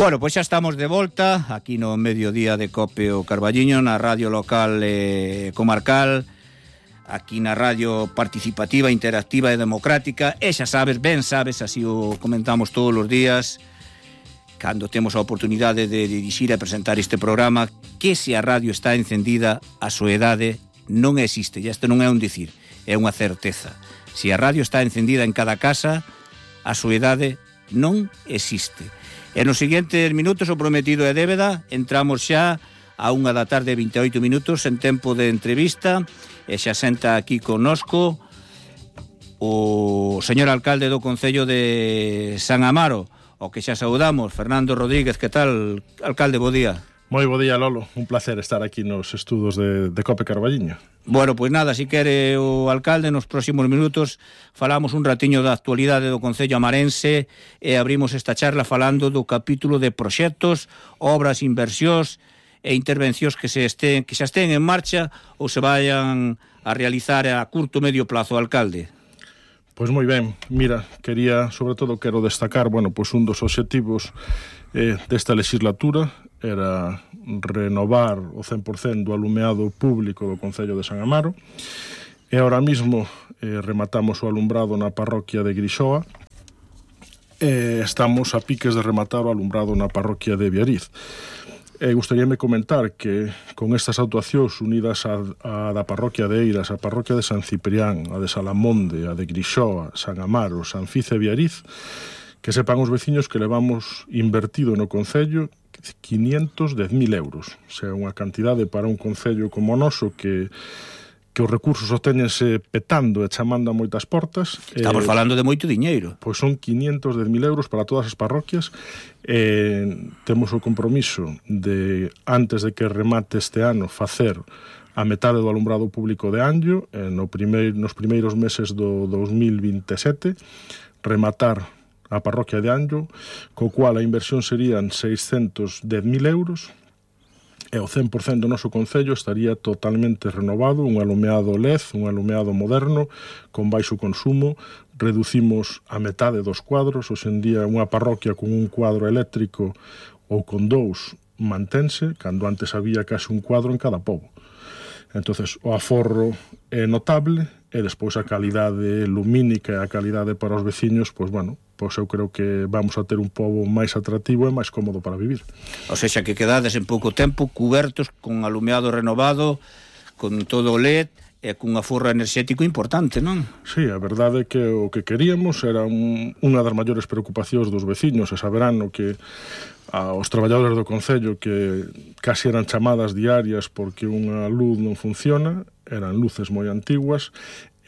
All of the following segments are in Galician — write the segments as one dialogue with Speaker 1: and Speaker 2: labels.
Speaker 1: Bueno, pois xa estamos de volta aquí no mediodía de Cope o Carballiño, na radio local comarcal, aquí na radio participativa, interactiva e democrática, e xa sabes, ben sabes, así o comentamos todos os días, cando temos a oportunidade de dirixir e presentar este programa, que se a radio está encendida, a soedade non existe, e isto non é un dicir, é unha certeza. Se a radio está encendida en cada casa, a soedade non existe. En os seguintes minutos, o prometido é débeda, entramos xa a 1:28 en tempo de entrevista, e xa senta aquí connosco o señor alcalde do Concello de San Amaro, o que xa saudamos, Fernando Rodríguez. Que tal, alcalde? Bo día.
Speaker 2: Moi bo día, Lolo, un placer estar aquí nos estudos de Cope Carballiño.
Speaker 1: Bueno, pois nada, si quere o alcalde, nos próximos minutos falamos un ratiño da actualidade do Concello amarense e abrimos esta charla falando do capítulo de proxectos, obras, inversións e intervencións que xa estén en marcha ou se vayan a realizar a curto medio plazo, alcalde.
Speaker 2: Pois moi ben, mira, quero destacar, pois un dos obxectivos desta legislatura era renovar o 100% do alumeado público do Concello de San Amaro, e ahora mismo rematamos o alumbrado na parroquia de Grixoa, e estamos a piques de rematar o alumbrado na parroquia de Viariz. Gustaríame comentar que con estas actuacións unidas a da parroquia de Eiras, a parroquia de San Ciprián, a de Salamonde, a de Grixoa, San Amaro, San Fice e Viariz, que sepan os veciños que levamos invertido no Concello 510.000 euros. O sea, unha cantidade para un concello como o noso que os recursos obtéñense petando e chamando a moitas portas.
Speaker 1: Estamos falando de moito diñeiro.
Speaker 2: Pois son 510.000 euros para todas as parroquias. Temos o compromiso de, antes de que remate este ano, facer a metade do alumbrado público de Anllo, nos primeiros meses do 2027, rematar a parroquia de Anllo, co cual a inversión serían 610.000 euros, e o 100% do noso concello estaría totalmente renovado, un alumeado LED, un alumeado moderno, con baixo consumo. Reducimos a metade dos cuadros. Hoxe en día unha parroquia con un cuadro eléctrico ou con dous mantense, cando antes había case un cuadro en cada pobo. Entonces, o aforro é notable, e despois a calidade lumínica e a calidade para os veciños, pois eu creo que vamos a ter un pobo máis atractivo e máis cómodo para vivir.
Speaker 1: O sexa, que quedades en pouco tempo cubertos con alumeado renovado, con todo o LED e cun aforro enerxético importante, non?
Speaker 2: Sí, a verdade é que o que queríamos era unha das maiores preocupacións dos veciños, e saberán que aos traballadores do Concello que casi eran chamadas diarias porque unha luz non funciona, eran luces moi antiguas,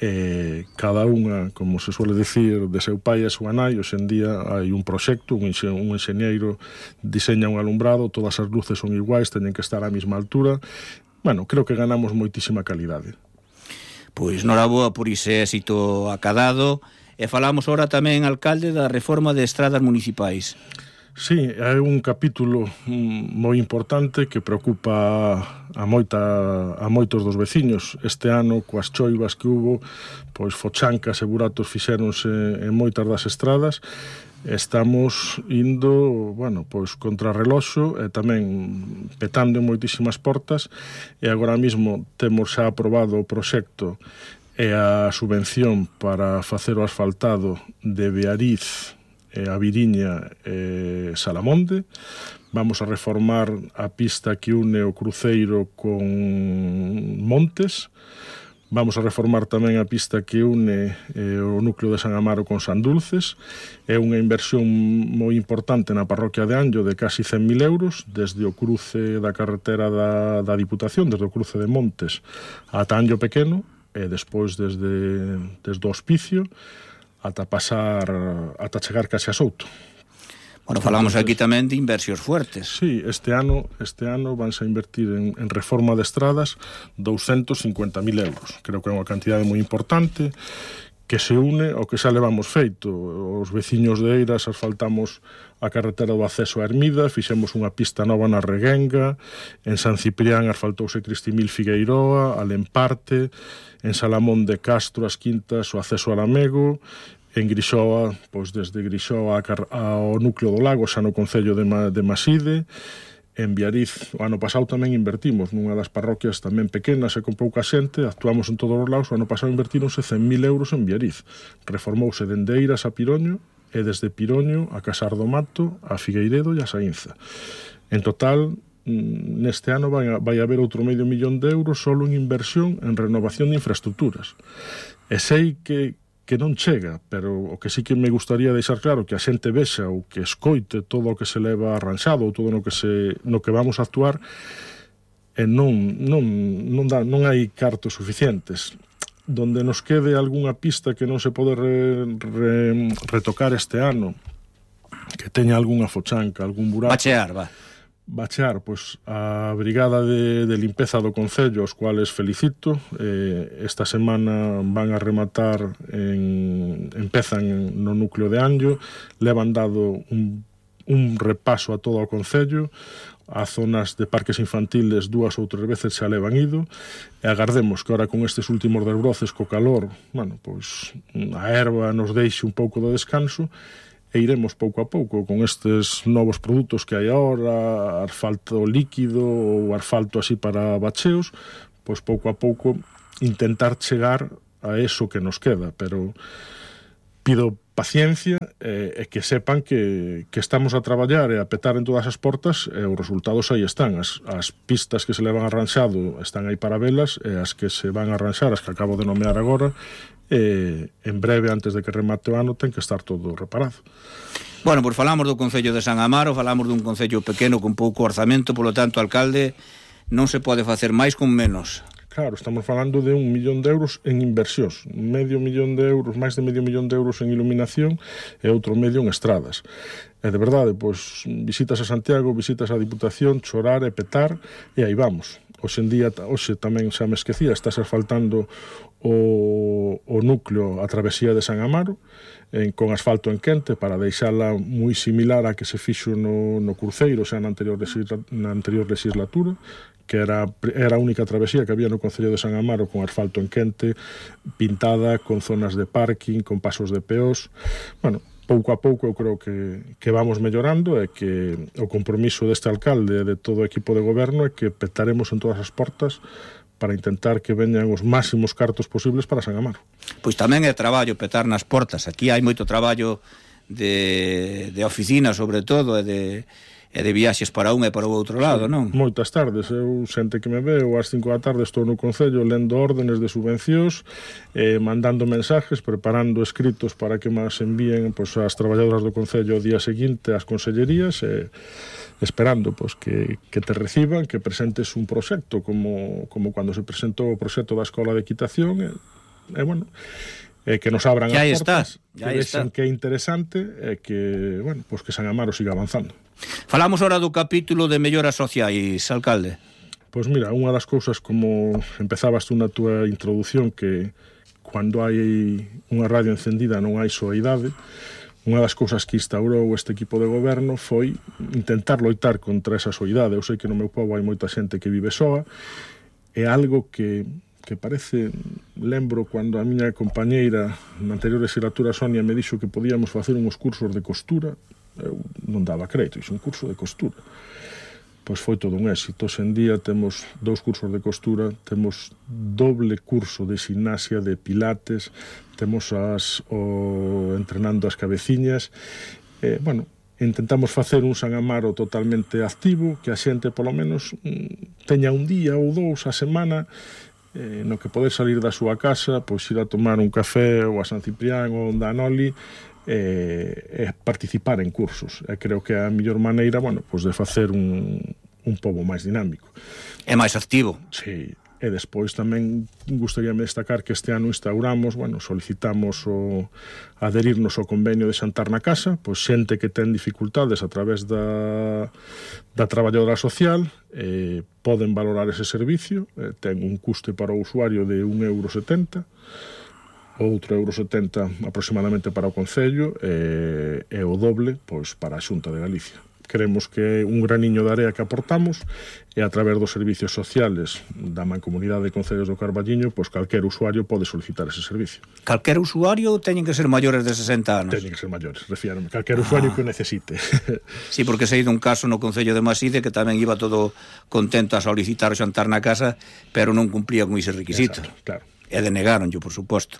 Speaker 2: e cada unha, como se suele dicir, de seu pai e súa nai. Hoxe en día hai un proxecto, un enxeñeiro diseña un alumbrado, todas as luces son iguais, teñen que estar á mesma altura. Creo que ganamos moitísima calidade.
Speaker 1: Pois noraboa por ese éxito acadado. E falamos ahora tamén, alcalde, da reforma de estradas municipais.
Speaker 2: Sí, é un capítulo moi importante que preocupa a moitos dos veciños. Este ano, coas choivas que hubo, pois fochancas e buratos fixéronse en moitas das estradas. Estamos indo, pois contra reloxo, e tamén petando en moitísimas portas, e agora mesmo temos xa aprobado o proxecto e a subvención para facer o asfaltado de Viariz, a Viriña e Salamonde. Vamos a reformar a pista que une o Cruceiro con Montes. Vamos a reformar tamén a pista que une o núcleo de San Amaro con Sandulces. É unha inversión moi importante na parroquia de Anllo de casi 100.000 euros, desde o cruce da carretera da Diputación, desde o cruce de Montes ata Anllo Pequeno, e despois desde o Hospicio ata chegar case a Souto.
Speaker 1: Falamos aquí tamén de inversións fuertes.
Speaker 2: Sí, este ano vanse a invertir en reforma de estradas 250.000 euros. Creo que é unha cantidade moi importante que se une ao que xa levamos feito. Os veciños de Eiras asfaltamos a carretera do acceso a Hermida, fixemos unha pista nova na Reguenga, en San Ciprián asfaltouse Cristimil Figueiroa, a Lemparte, en Salamón de Castro, as Quintas, o acceso a Lamego, En Grixoa, pois desde Grixoa ao núcleo do Lago, xa no concello de Maside. En Biariz, o ano pasado tamén invertimos nunha das parroquias tamén pequenas e con pouca xente, actuamos en todos os lados. O ano pasado invertíronse 100.000 euros en Biariz. Reformouse dende Eiras a Piroño e desde Piroño a Casar do Mato, a Figueiredo e a Saínza. En total, neste ano vai haber outro $500.000 solo en inversión en renovación de infraestructuras. E sei que non chega, pero o que sí que me gustaría deixar claro que a xente vexa ou que escoite todo o que se leva arranxado ou todo no que vamos a actuar, e non hai cartos suficientes. Donde nos quede algunha pista que non se pode retocar este ano, que teña algunha fochanca, algún buraco, bachear, pois a brigada de limpeza do Concello, os cuales felicito. Esta semana van a rematar, empezan no núcleo de Anllo, levan dado un repaso a todo o Concello, a zonas de parques infantiles 2 ou 3 veces xa levan ido, e agardemos que ahora con estes últimos desbroces co calor, pois a herba nos deixe un pouco de descanso, e iremos pouco a pouco con estes novos produtos que hai agora, asfalto líquido ou asfalto así para bacheos, pois pouco a pouco intentar chegar a eso que nos queda, pero pido paciencia e que sepan que estamos a traballar e a petar en todas as portas, e os resultados aí están. As pistas que se levan arranxado están aí para velas, e as que se van a arranxar, as que acabo de nomear agora, en breve, antes de que remate o ano, ten que estar todo reparado.
Speaker 1: Bueno, pois falamos do Concello de San Amaro, falamos dun concello pequeno con pouco orzamento, polo tanto, alcalde, non se pode facer máis con menos.
Speaker 2: Claro, estamos falando de €1.000.000 en inversións, €500.000, máis de €500.000 en iluminación e outro medio en estradas. E de verdade, pois visitas a Santiago, visitas a Diputación, chorar e petar, e aí vamos. Hoxe tamén xa me esquecía, estás asfaltando o núcleo, a travesía de San Amaro, con asfalto en quente, para deixala moi similar a que se fixo no Cruceiro, xa na anterior legislatura, que era a única travesía que había no Concello de San Amaro con asfalto en quente, pintada, con zonas de parking, con pasos de peós. Pouco a pouco eu creo que vamos mellorando, e que o compromiso deste alcalde e de todo o equipo de goberno é que petaremos en todas as portas para intentar que veñan os máximos cartos posibles para San Amaro.
Speaker 1: Pois tamén é traballo petar nas portas. Aquí hai moito traballo de oficina, sobre todo, e de viaxes para un e para o outro lado, non?
Speaker 2: Moitas tardes. Eu, xente que me veo, ás 5 da tarde estou no Concello lendo órdenes de subvencións, mandando mensajes, preparando escritos para que máis envíen as traballadoras do Concello o día seguinte ás consellerías, esperando que te reciban, que presentes un proxecto como cando se presentou o proxecto da Escola de Equitación, que nos abran as portas, que vexan que é interesante, e que, que San Amaro siga avanzando.
Speaker 1: Falamos ahora do capítulo de melloras sociais, alcalde.
Speaker 2: Pois mira, unha das cousas, como empezabas tú na túa introdución, que cando hai unha radio encendida non hai soidade, unha das cousas que instaurou este equipo de goberno foi intentar loitar contra esa soidade. Eu sei que no meu pobo hai moita xente que vive soa, é algo que parece, lembro cando a miña compañeira na anterior legislatura, Sonia, me dixo que podíamos facer uns cursos de costura. Eu non daba crédito, iso un curso de costura. Pois foi todo un éxito. Hoxe en día temos 2 cursos de costura, temos doble curso de gimnasia, de pilates, temos entrenando as cabeciñas. Intentamos facer un San Amaro totalmente activo, que a xente polo menos teña un día ou 2 a semana no que poder salir da súa casa, pois ir a tomar un café ou a San Ciprián ou un Danoli, e participar en cursos. Creo que é a mellor maneira, de facer un pobo máis dinámico.
Speaker 1: É máis activo.
Speaker 2: Sí. E despois tamén gustaríame destacar que este ano instauramos, solicitamos adherirnos ao convenio de xantar na casa, pois xente que ten dificultades a través da traballadora social, poden valorar ese servicio, ten un custe para o usuario de €1,70, outro €1,70 aproximadamente para o Concello, e o doble para a Xunta de Galicia. creemos que é un graniño de area que aportamos, e a través dos servicios sociales da Mancomunidade de Concellos do Carballiño, pois calquer usuario pode solicitar ese servicio.
Speaker 1: Calquer usuario teñen que ser maiores de 60 anos?
Speaker 2: Teñen que ser maiores, refiérame, calquer usuario que o necesite.
Speaker 1: Sí, porque sei dun caso no Concello de Maside que tamén iba todo contento a solicitar o xantar na casa, pero non cumplía con ese requisito.
Speaker 2: Exacto, claro.
Speaker 1: E denegaronlle, por suposto.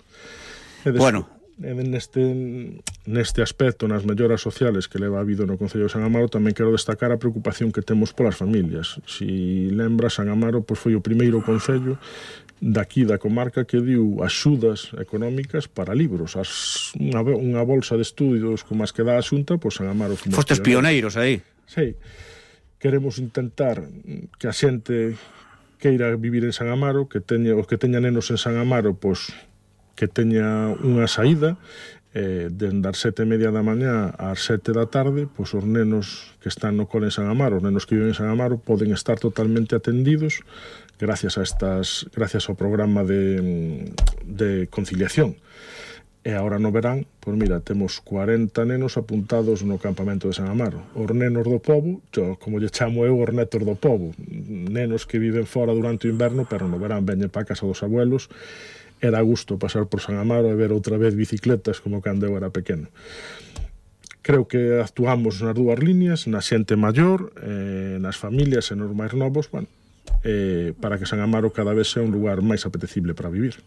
Speaker 2: Bueno, neste aspecto, nas melloras sociales que leva habido no Concello de San Amaro, tamén quero destacar a preocupación que temos polas familias. Si lembra, San Amaro pois foi o primeiro concello daqui da comarca que diu axudas económicas para libros. Unha bolsa de estudios como as que dá a Xunta, pois San Amaro...
Speaker 1: Fostes pioneiros aí.
Speaker 2: Sí. Queremos intentar que a xente queira vivir en San Amaro, que teña, os que teña nenos en San Amaro, pois que teña unha saída dende as 7:30 da mañá ás 7 da tarde, pois os nenos que están no cole en San Amaro, os nenos que viven en San Amaro poden estar totalmente atendidos gracias ao programa de conciliación. E agora no verán, pois mira, temos 40 nenos apuntados no campamento de San Amaro. Os nenos do pobo, como lle chamo eu, os netos do pobo, nenos que viven fora durante o inverno, pero no verán veñen para a casa dos abuelos. Era gusto pasar por San Amaro e ver outra vez bicicletas como cando eu era pequeno. Creo que actuamos nas dúas líneas, na xente maior, nas familias e nos máis novos, bueno, para que San Amaro cada vez sea un lugar máis apetecible para vivir.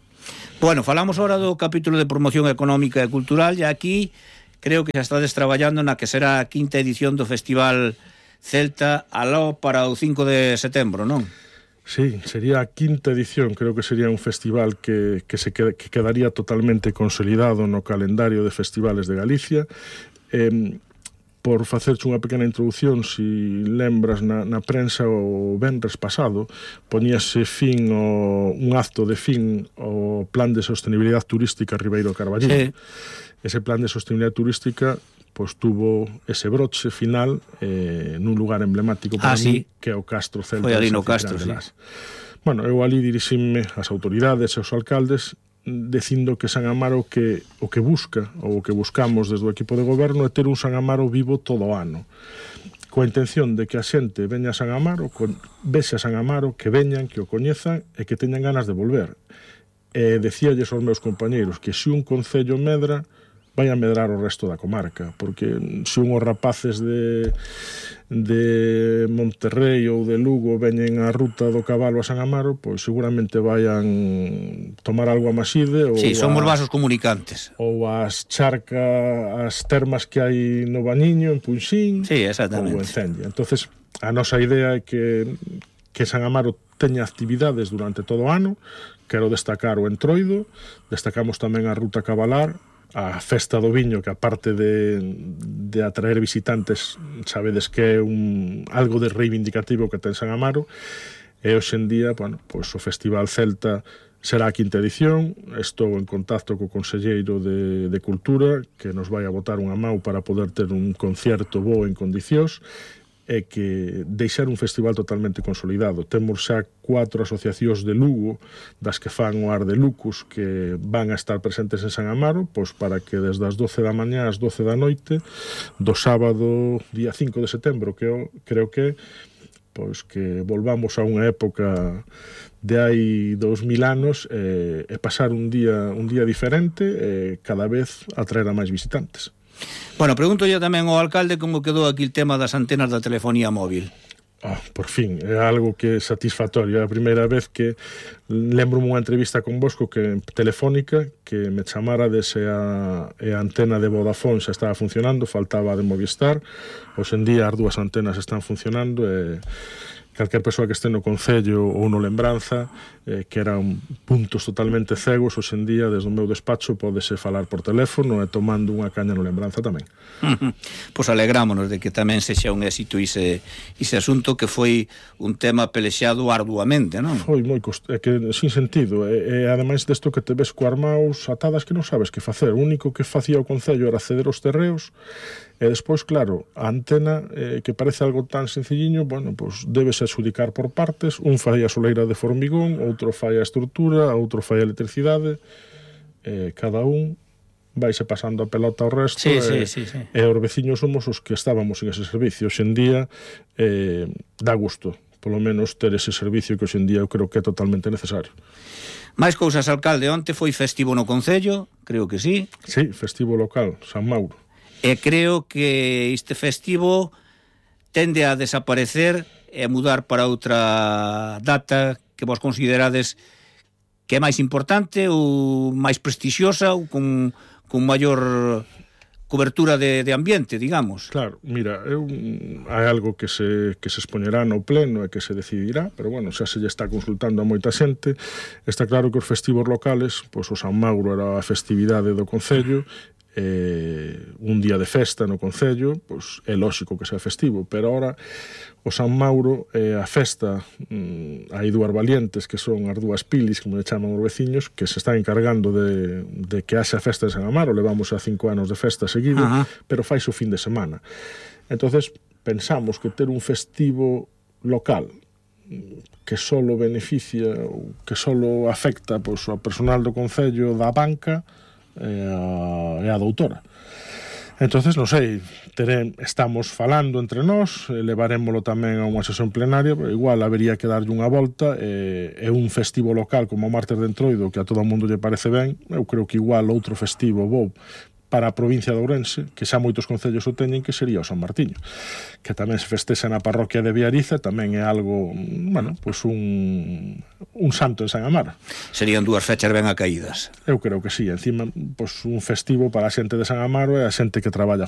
Speaker 1: Bueno, falamos ahora do capítulo de promoción económica e cultural, e aquí creo que xa estades traballando na que será a quinta edición do Festival Celta aló para o 5 de setembro, non?
Speaker 2: Sí, sería a quinta edición, creo que sería un festival que quedaría totalmente consolidado no calendario de festivales de Galicia. Por facerche unha pequena introducción, si lembras na prensa o venres pasado, poñíase fin un acto de fin ao Plan de Sostenibilidade Turística Ribeiro Carballiño. Sí. Ese Plan de Sostenibilidade Turística pois tuvo ese broche final nun lugar emblemático para mí, que é o Castro Celta.
Speaker 1: Foi ali no Castro, sí.
Speaker 2: Bueno, eu ali dirixime as autoridades e os alcaldes dicindo que San Amaro o que busca, ou o que buscamos desde o equipo de goberno, é ter un San Amaro vivo todo o ano, coa intención de que a xente veña a San Amaro, vexe a San Amaro, que veñan, que o coñezan e que teñan ganas de volver. Decíalles aos meus compañeiros que se un concello medra, vai a medrar o resto da comarca, porque se unhos rapaces de Monterrey ou de Lugo veñen a ruta do cabalo a San Amaro, pois seguramente vayan tomar algo a Maside ou
Speaker 1: somos vasos comunicantes,
Speaker 2: ou as termas que hai no Baniño en Punxín, ou en Cenya. Entonces a nosa idea é que San Amaro teña actividades durante todo o ano. Quero destacar o Entroido, destacamos tamén a ruta cabalar, a festa do viño, que aparte de atraer visitantes, sabedes que é algo de reivindicativo que ten San Amaro, e hoxe en día, bueno, pois o Festival Celta será a quinta edición. Estou en contacto co conselleiro de Cultura, que nos vai a botar unha mau para poder ter un concierto bo en condicións, é que deixar un festival totalmente consolidado. Temos xa 4 asociacións de Lugo, das que fan o Ar de Lucus, que van a estar presentes en San Amaro, pois para que desde as 12 da mañá ás 12 da noite, do sábado, día 5 de setembro, que eu creo que pois que volvamos a unha época de hai 2000 anos e pasar un día diferente e cada vez atraer a máis visitantes.
Speaker 1: Bueno, pregunto yo tamén ao alcalde como quedou aquí el tema das antenas da telefonía móvil.
Speaker 2: Por fin, é algo que é satisfactorio. É a primeira vez que lembro unha entrevista con Bosco telefónica, que me chamara dese a antena de Vodafone xa estaba funcionando, faltaba de Movistar. Hoxe en día as dúas antenas están funcionando e calquer persoa que este no Concello ou no Lembranza, que eran puntos totalmente cegos, hoxe en día, desde o meu despacho, pódese falar por teléfono e tomando unha caña no Lembranza tamén.
Speaker 1: Pois alegrámonos de que tamén sexa un éxito ese asunto, que foi un tema pelexado arduamente, non?
Speaker 2: Foi moi que sin sentido, e ademais desto que te ves coas maus atadas que non sabes que facer. O único que facía o Concello era ceder os terreos. E despois, claro, a antena, que parece algo tan sencilliño, bueno, pois debese adxudicar por partes. Un fai a soleira de formigón, outro fai a estrutura, outro fai a electricidade. Cada un vaise pasando a pelota ao resto,
Speaker 1: sí.
Speaker 2: E os veciños somos os que estábamos en ese servicio. Hoxe en día dá gusto, polo menos, ter ese servicio que hoxe en día eu creo que é totalmente necesario.
Speaker 1: Máis cousas, alcalde, onte foi festivo no Concello, creo que sí.
Speaker 2: Sí, festivo local, San Mauro.
Speaker 1: E creo que este festivo tende a desaparecer e a mudar para outra data que vos considerades que é máis importante ou máis prestixiosa ou con maior cobertura de ambiente, digamos.
Speaker 2: Claro, mira, hai algo que se expoñerá no pleno e que se decidirá, pero bueno, xa se lle está consultando a moita xente. Está claro que os festivos locales, pois o San Mauro era a festividade do Concello, un día de festa no Concello, pois é lóxico que sea festivo, pero ahora o San Mauro é a festa, hai dúas valientes que son as dúas pilis, como le chaman os veciños, que se están encargando de que haxa festa de San Amaro. Levamos a 5 anos de festa seguido, pero fais o fin de semana. Entonces pensamos que ter un festivo local que solo beneficia ou que solo afecta pois, ao personal do Concello da banca e a doutora. Entonces, non sei, estamos falando entre nós, levarémolo tamén a unha sesión plenaria, pero igual habería que darlle unha volta, e un festivo local como o Martes de Entroido, que a todo o mundo lle parece ben, eu creo que igual outro festivo bo para a provincia de Ourense, que xa moitos concellos o teñen, que sería o San Martiño, que tamén se festexa na parroquia de Viariza, tamén é algo, bueno, pois un santo en San Amaro.
Speaker 1: Serían dúas fechas ben acaídas.
Speaker 2: Eu creo que sí, encima, pois un festivo para a xente de San Amaro e a xente que traballa